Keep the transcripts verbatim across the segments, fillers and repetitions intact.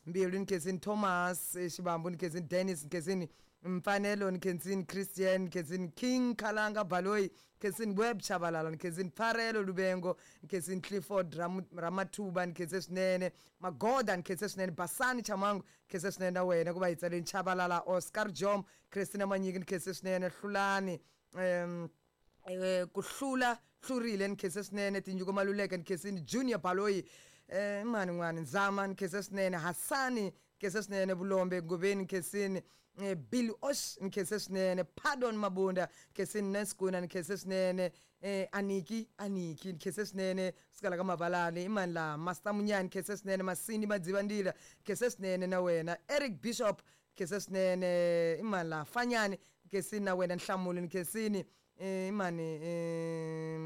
Mbilu, ni khensini Thomas Xivambu, ni khensini Dennis, ni khensini Mfanelo, ni khensini Christian, ni khensini King Khalanga Baloyi, ni khensini Web Chabalala, ni khensini Pfarelo Lubengo, ni khensini Clifford Ramathuba, ni khense swinene Magoda, ni khense swinene Basani Chamangu, ni khense swinene na wena ku va hi tsaleni Chabalala, Oscar Jom, Christina Manyiki, ni khense swinene Hlulani, um ku hlula hlurile, ni khense swinene Tinyiko Maluleke, ni khensini Junior Baloyi, eh mani n'wana Nzama, ni khense swinene Hasani, ni khense swinene Vulombe Ngobeni, ni khensini Bill Osh, ni khense swinene Pardon Mabunda, ni khensini Neskuna, ni khense swinene Aniki Aniki, ni khense swinene sikala ka Mabalani, imani la Master Munyani, ni khense swinene Masindi Madzivandila, ni khense swinene na wena Eric Bishop, ni khense swinene imani la Fanyani, ni khensini na wena Nhlamulo, ni khensini imani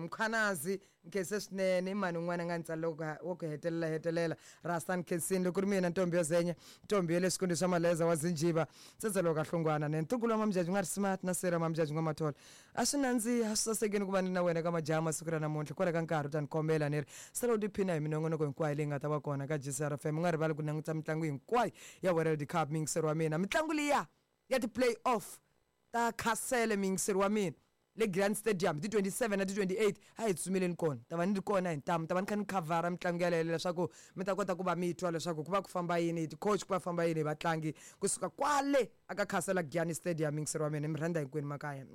Mkhwanazi, ni khense swinene imani un'wana nga ntsala wo ku hetelela hetelela Rasta, ni khensini loko ri mina ntombi yo zenya, ntombi ya le xikundi xa Maleza wa Zinjiva, tsetselo ka Hlongwana ne ntukulu wa Mamjaji nga ri smart na sera Mamjaji nga Mathola. A swi nandziha, swi sasekini ku va ni na wena ka majaha masiku ra namuntlha kwala ka nkarhi u ta ni kombela ni ri sala u tiphina hi minongonoko hinkwayo leyi nga ta va kona ka G C R F M. U nga rivali ku languta mitlangu hinkwayo ya World Cup, miyingiseri wa mina, mitlangu liya ya ti-play off ta Castle, miyingiseri wa mina, le Grand Stadium ti twenty-seven na ti twenty-eight, a hi tsumeleni kona, ta va ni ri kona hi ntamu, ta va ni kha ni khavhara mitlangu yaleyo leswaku mi ta kota ku va mi twa leswaku ku va ku famba yini hi ti-coach, ku va famba yini hi vatlangi kusuka kwale aka Castle Giyani Stadium. Miyingiseri wa mina, mi rhandza hinkwenu makaya.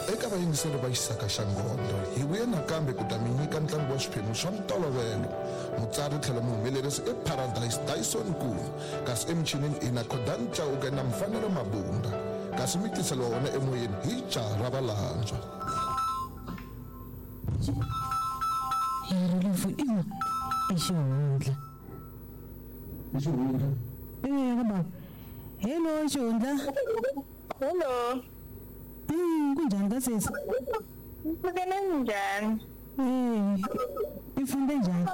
Eka vayingiseri va Xisaka xa Nghondo, hi vuye nakambe ku ta mi nyika ntlangu wa swiphemu swa ntolovelo. Mutsari tlhelo muhumelerisi i Paradise Dyson Nkulu, kasi emichinini i na Khodan Chauke na Mfanelo Mabunda, kasi mi tiseliwa wona emoyeni hi jaha ra valandzwa. I xihundla. I xihundla? Eh, baba. Hello xihundla. Hello. Mm, kunjani ka sesi? Ngibukele njani? Eh, ifunde njani?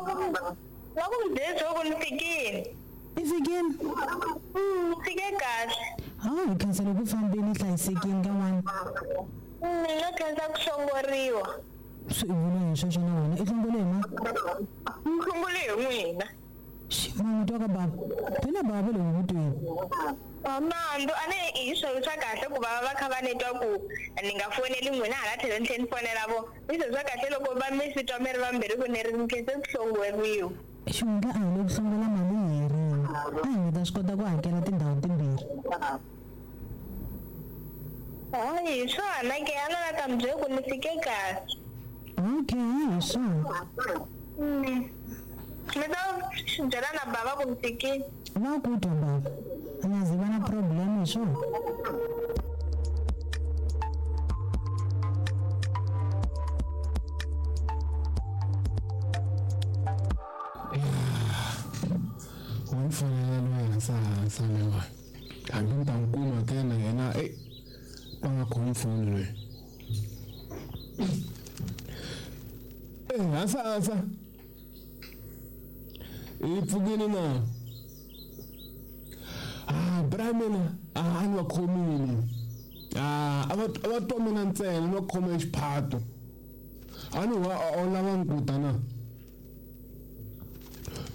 Wakumdezi okunifikile. Ifikile? Mm, ifike kahle. Hawu, khansela ku fambeni hlayisekile ka n'wana. Mina khensa ku hlongoriwa. Swi vula hi sweswo na wena i hlongole hi ma? Ni hlongole hi n'wina. Mama twa ka baba. Phela baba le hukutweni. Nandzu a ni hi swilo swa kahle ku va va kha va ni twa ku ni nga foneli n'wina hala tlhelo ni tlhela ni fonela vo. I swilo swa kahle loko va mi swi twa mi ri vambirhi ku ni ri ni khense ku hlongoriwa. Xihundla a hi le ku hlongola mali hi rin'we. A hi nga ta swi kota ku hakela tindhawu timbirhi. Hayi hi swona ke a ni la ta mi byela ku ni fike kahle. Okay, hi swona. Mi ta byela na baba ku ni fikile. Va ku twa baba. A nga zi va na problem hi swona. Wa ni fonela loyi hansa hansa lewa. Hambi ni ta n'wi kuma ke na yena e va nga khomi foni loyi. Eh, hansa hansa. I pfukile na? Ah, bra mina a ni va khomile. Ah, a va a va twa mina ntsena ni va khoma hi xiphato. A ni wa a lava nkuta na?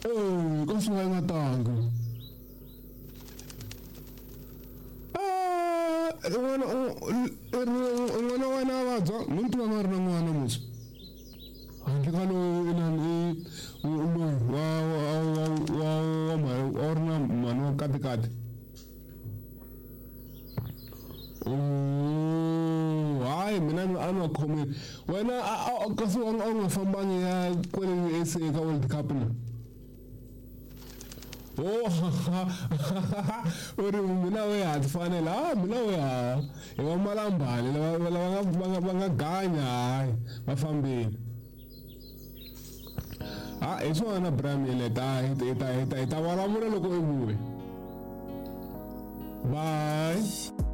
Eh, ka swi nga nga tanga. Ah, n'wana n'wana wa wena a vabya, ni twa nga ri na n'wana musi. Handle ka loyi inani i loyi wa wa wa wa wa wa ri na mhani wa katikati. Oh, hayi mina a ni va khomile. Wena kasi a wu nga fambangi ya kwale S A ka World Cup na? Oh, u ri mina we ha ti fanela. Ah, mina we ha hi va malambani lava lava nga va nga va nga ganya hayi va fambile. Ah, hi swona Bram hi ta hi ta hi ta hi ta vulavula loko i vuya. Bye.